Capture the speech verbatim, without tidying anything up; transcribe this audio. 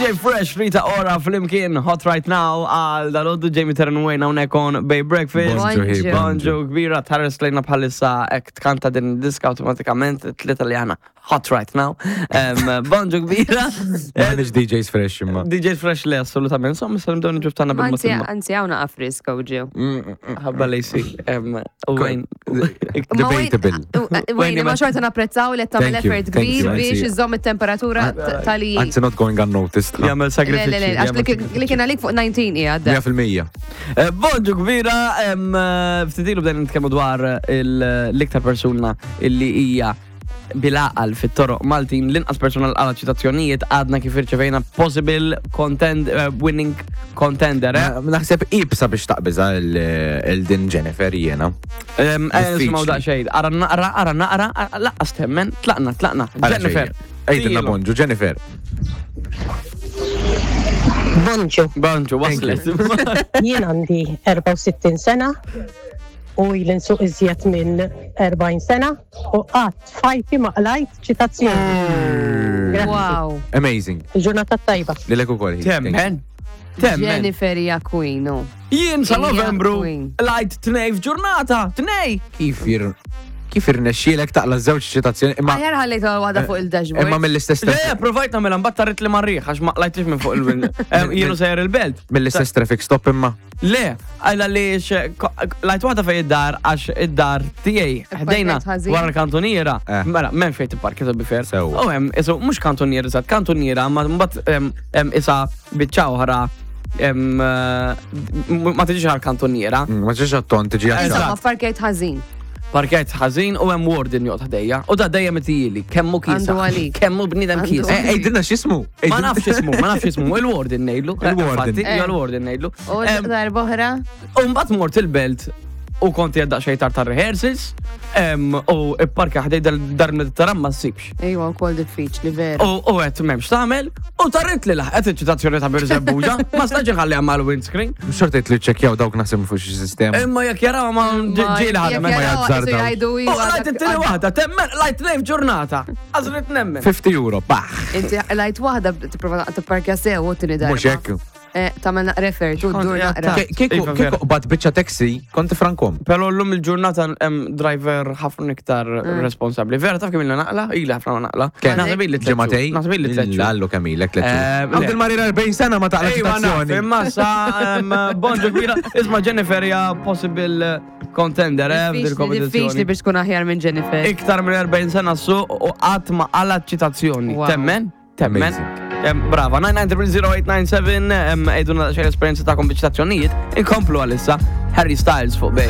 D J Fresh, Rita Ora, flimkien Hot Right Now għal dalgħodu. Jamie Terran Wayne hawnhekk on Bay Breakfast. Bonġu, hi, Bonġu. Bonġu kbira, tħares lejna bħalissa ek tkanta din diska, automatikament tlieta li għana Hot Right Now. Em, Bonġu kbira. M'aħniex D Js fresh imma. D J Fresh le, assolutament. Insomma, issa nibdew niġu ftana Anzi, bil-mod. anzi, hawn friska u ġew. Ħabba lejsi. Wayne. Debatable. Wayne, ma xorta napprezzaw li tagħmel Thank you, effort thank you, kbir biex anzi. iżomm it-temperatura tali. Anzi, not going unnoticed. Jagħmel Le, le, le, sagrifiċċji. għax li kien- li kien għalik fuq dsatax qiegħed. mija fil-mija. Eh, Bonġu kbira, em, eh, ftit ilu bdejna nitkellmu dwar il- l-iktar persuna illi hija bil-għaqal fit-toroq Maltin, l-inqas persuna l għala ċitazzjonijiet. Għadna kif irċevejna possible contend, eh, winning contender. Eh? Naħseb ibsa biex taqbiża il-din Jennifer jiena. Em, eh, Diffiċli. Nisimgħu daqsxejn, ara naqra, ara naqra, ara- laqqas temmen, tlaqna, tlaqna. Jennifer. Għidilna bonġu, Jennifer. Bonġu, Bonġu, waslet. Jien għandi erbgħa u sittin sena u ili nsuq iżjed minn erbgħin sena u qatt f'ħajti ma qlajt ċitazzjoni. Grazzi. Wow. Amazing. Il-ġurnata tajba. Lilek ukoll. Thank you. Temmen. Temmen. Jennifer hija queen, no. Jien sa Hija Novembru queen. qlajt tnej f'ġurnata, tnej. Kif ir kif irnexxielek taqla żewġ ċitazzjoni imma Aħjar ħallejt waħda fuq il-dashboard. Imma mill-istess Le, provajt nagħmilha, mbagħad tarit li marriħ għax ma qlajtix minn fuq il-wind. Jienu sejjer il-belt. Mill-istess traffic stop imma. Le, għalla li qlajt waħda fej id-dar għax id-dar tiegħi ħdejna ħażin. wara l-kantoniera. Eh. Mela, m'hemm fejn tipparki, to be fair. Sewwa. U hemm isu mhux kantoniera eżatt, kantoniera, ma mbagħad em, em, isa biċċa oħra em, eh, ma tiġix għal kantoniera. Mm, Ma ġiex għatton tiġi Eżatt. għaxar. Insomma, parkejt ħażin. Parkejt ħażin u hemm warden joqgħod ħdejja. U da dejjem itijili, kemmu kisa. Għandu għalik. Kemmu bniedem Għandu kisa. Eh, Għidilna x'ismu. Ma nafx ismu, ma nafx ismu, il-warden ngħidlu. Il-warden. Infatti, Eh. ija, il-warden ngħidlu. U Em, darba oħra. U mbagħad mort il-belt u konti għadda xejn tard tar-rehearsals em, u ipparka ħdej dar Mediterran ma ssibx. Ejwa, wkoll diffiċli vera. U u għedt m'hemmx tagħmel u tarrit li laħqet iċ-ċitazzjoni ta' Birżebbuġa, ma stax inħalli mal windscreen. Xorta jitlu ċekjaw dawk naħseb fuq xi sistema. Imma jekk jaraw ma ġieli ħadem. ma jazzardaw. Jgħidu U qlajt it-tieni waħda, temmen, qlajt tnejn f'ġurnata. Għażlit nemmen. fifty euro, baħ. Inti qlajt waħda, tipprova tipparkja sew u tieni darba. Mhux hekk. Eh, Tagħmel naqra effort u ddur naqra. Ke- Kieku Iva, vera. kieku qbad biċċa taxi, konti frankom. Pero l-lum il-ġurnata hemm driver ħafna iktar responsabbli. Vera, taf kemm ilna naqla? Ili ħafna ma naqla. Kemm? Naħseb ili tliet xhur. Ġematej? Naħseb ili tliet xhur. Lallu kemm ilek tliet Eh, xhur. le. Għand il-marir erbgħin sena ma taqla Ejwa, naf, ċitazzjoni. imma sa em, bonġu kbira. Isma', Jennifer hija possible contender eh, f'dil Diffiċli diffiċli kompetizzjoni. biex tkun aħjar minn Jennifer. Iktar minn erbgħin sena su u qatt ma qala ċitazzjoni. Wow. Temmen? Temmen? Amazing. Em, Brava, nine nine zero zero eight nine seven, għidulna xejn esperienza ta' ċitazzjonijiet. Inkomplu għalissa Harry Styles fuq Bay.